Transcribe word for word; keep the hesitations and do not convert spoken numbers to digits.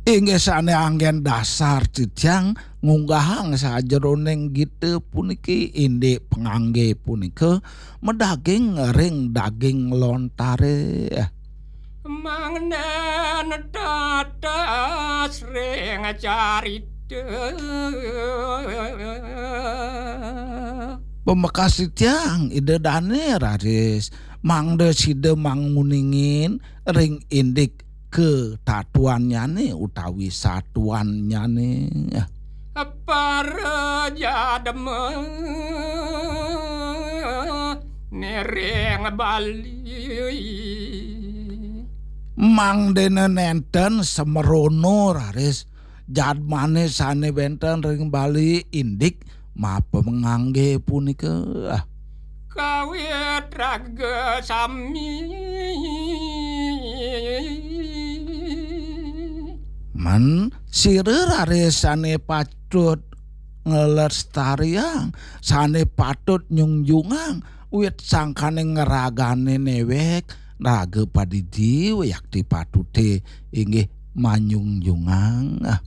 Inggih sane anggen dasar titiang ngunggahang sajeroning gita puniki, indik pangangge punika madaging ring daging lontare. Mangda netetes ring carita. Pamekas titiang Ida Dane raris mangda sida manguningin ring indik katatuannyane utawi satuannyane. Para jadma niring Bali. Mangdene nenten semerono raris jadmane sane wenten ring Bali indik mapangangge punika. Kawit raga sami. Men sira raris sane patut nglestariang, sane patut nyungjungang, wit sangkane ngragane newek, raga padidi wiakti patute inggih manyungjungang. Ah.